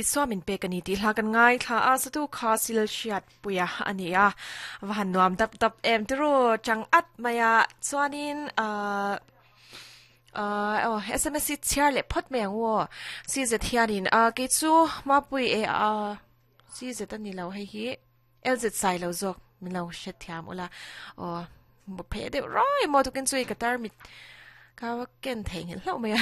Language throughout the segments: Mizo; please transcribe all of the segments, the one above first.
Isua min pek a ni tih hla kan ngaithla a, satu kha sil hriat puia a ni a, va han nuam dap dap em tiru chang at mai a, chuanin ahh ahh aw sms hi chhiar leh phawt mai ang u aw, si zet hianin ah kei chu Mapui e ah si zet a ni lo hei hi LZ sai lo zawk min lo hrethiam ula aw pheh deuh rawih maw tukin chu i ka tarmit ka ken theih nghilh hlauh mai a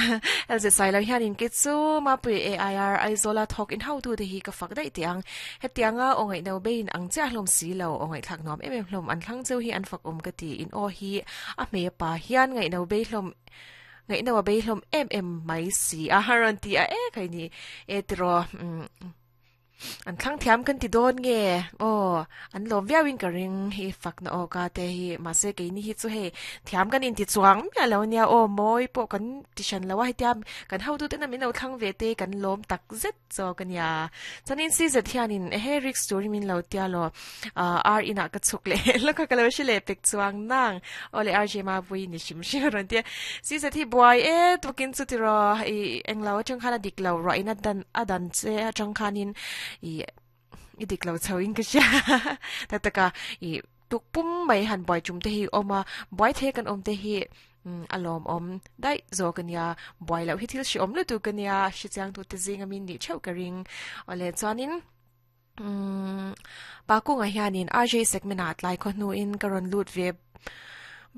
LZ sai lo hianin kei chu Mapui AIR Aizawla thawk in hotu te hi ka fak daih teh ang hetianga aw ngaihno bein ang chiah hlawm si lo aw ngaihthlak nuam em em hlawm an thlang cheu hi an fak awm ka ti in aw hi a hmei a pa hian ngaihno bei hlawm ngaihno a bei hlawm em em mai si a rawn ti a e khai ni e tiraw umm. An thlang thiam kan ti dawn nge? Aw, an lawm viau in ka ring hi fakna aw ka te hi mahse keini hi chu hei thiam kan inti chuang miah lo nia aw mawi pawh kan ti hran lo a hetia kan hotu tena min lo thlang ve te kan lawm tak zet zawk a nia. Chuanin CZ hianin ehe risk turin min lo tia law ar inah ka chhuk leh lawk a ka lo hre leh pek chuang nang aw le RJ Mavui ni hrim hrim a rawn ti a. CZ hi buai e tukin chu tiraw i englo atang khan a dik lo ruah in a dan a dan che atang khanin i i dik lo chho in ka hria tak tak a i tuk pum mai han buai tum te hi awm a buai thei kan awm te hi a lawmawm daih zawk a nia buai loh hi thil hreawm lutuk a nia hrechiang tu te zing ami nih theuh ka ring awle chuanin umm pa kungah hianin RJ segment ah tlai khaw hnuin ka rawn lut ve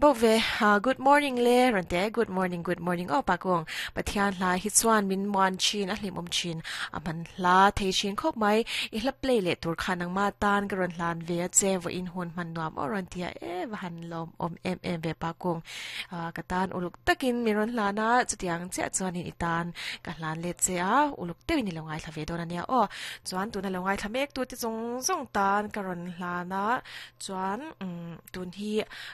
Bo ve ha good morning le rawn te good morning good morning aw pa kung Pathian hla hi chuan min muan thin a hlimawm thin a hman hla thei thin khawp mai i hla play leh tur khan nangma tan ka rawn hlan ve a che vawiin hun hman nuam aw rawn ti a e va han lawm awm em em ve pa kung ka tan uluk takin min rawn hlan a chutiang chiah chuanin i tan ka hlan let che a uluk deuhin i lo ngaithla ve dawn ania aw chuan tuna lo ngaithla mek tu te zawng zawng tan ka rawn hlan a Chuan tun hi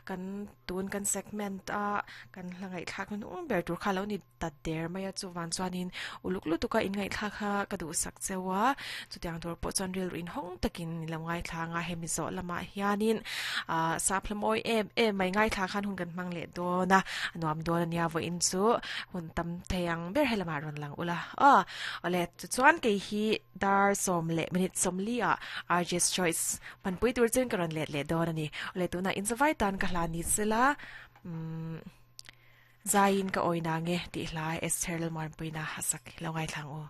kan tun kan segment a kan hla ngaihthlak hnung ber tur kha lo ni ta der mai a chuvan chuanin uluk lutuk a in ngaihthlak kha ka duhsak cheu a chutiang tur pawh chuan rilru inhawng takin i lo ngaithla ang a hemi zawh lamah hianin ah sap hla mawi em em mai ngaithla khan hun kan hmang leh dawn a a nuam dawn ania vawiin chu hun tam thei ang ber helamah rawn lang ula aw awle tichuan kei hi dar sawm leh minute sawmli ah RJ's Choice Hmanpui tur chuan ka rawn let leh dawn a ni. Awle tunah inzavai tan ka hla ni sela umm zaiin ka awi na nge tih hla Esther Lalmuanpuina a sak hi lo ngaithla ang u.